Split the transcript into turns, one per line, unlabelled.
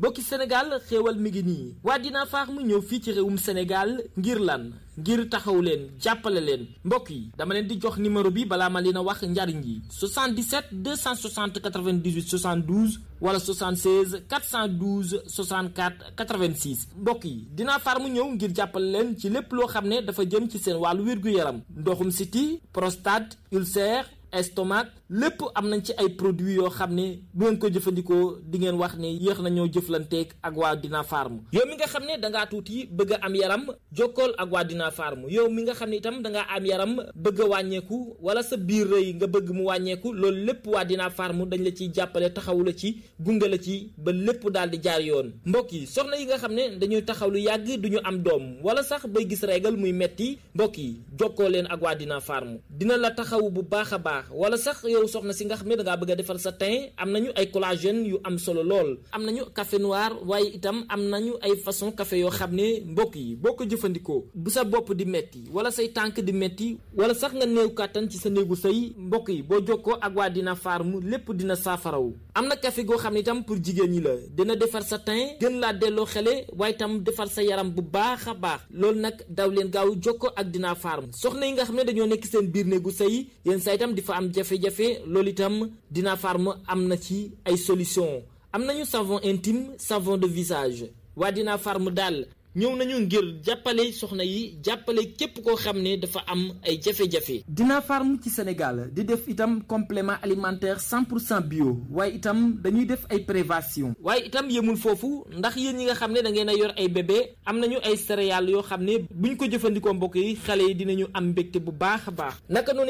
mbokki Sénégal xéewal mi ngi nii waa Dina Farm ñëw fii ci réewum Sénégal ngir lan ngir taxaw leen jàppale leen mbokk yi dama leen di jox numéro bi balaa ma leen a wax njariñ yi 77 260 98 72 wala 76 412 64 86 mbokk yi Dina Farm ñëw ngir jàppale leen ci lépp loo xam ne dafa jëm ci seen wàllu wér-gu-yaram ndoxum siti prostate ulcère estomac lépp am nañ ci ay produits yoo xam ne bu ngeen ko jëfandikoo di ngeen wax ne yéex nañoo jëflanteeg ak waa Dina Farm yow mi nga xam ne dangaa tuuti bëgg a am yaram jokkool ak waa Dina Farm yow mi nga xam ne itam dangaa am yaram bëgg a wàññeeku wala sa biir rëy nga bëgg mu wàññeeku loolu lépp waa Dina Farm dañ la ciy jàppale taxawu la ci gunge la ci ba lépp daal di jaar yoon mbokk yi soxna yi nga xam ne dañuy taxaw lu yàgg duñu am doom wala sax bay gis régal muy metti mbokk yi jokkoo leen ak waa Dina Farm dina la taxawu bu baax a baax wala sax yow soxna si nga xam ne dangaa bëgg a defar sa teint am nañu ay collagène yu am solo lool am nañu café noir waaye itam am nañu ay façon café yoo xam ne mbokk yi boo ko jëfandikoo bu sa bopp di metti wala say tànk di metti wala sax nga néew kàttan ci sa néegu sëy mbokk yi boo jokkoo ak waa Dina Farm lépp dina saafarawu am na café goo xam ne itam pour jigéen ñi la dina defar sa teint gën laa delloo xele waaye itam defar sa yaram bu baax a baax loolu nag daw leen gaaw jokkoo ak Dina Farm soxna yi nga xam ne dañoo nekk seen biir néegu sëy yéen saa itam di fa am jafe-jafe loolu itam Dina Farm am na ci ay solution am nañu savon intime savon de visage waa Dina Farm daal ñëw nañu ngir jàppale soxna yi jàppale képp koo xam ne dafa am ay jafe-jafe. Dina Farm ci Sénégal di def itam complément alimentaire 100% bio waaye itam dañuy def ay prévention waaye itam yemul foofu ndax yéen ñi nga xam ne da ngeen a yor ay bébé am nañu ay céréales yoo xam ne buñ ko jëfandikoo mbokk yi xale yi dinañu am mbégte bu baax a baax naka noonu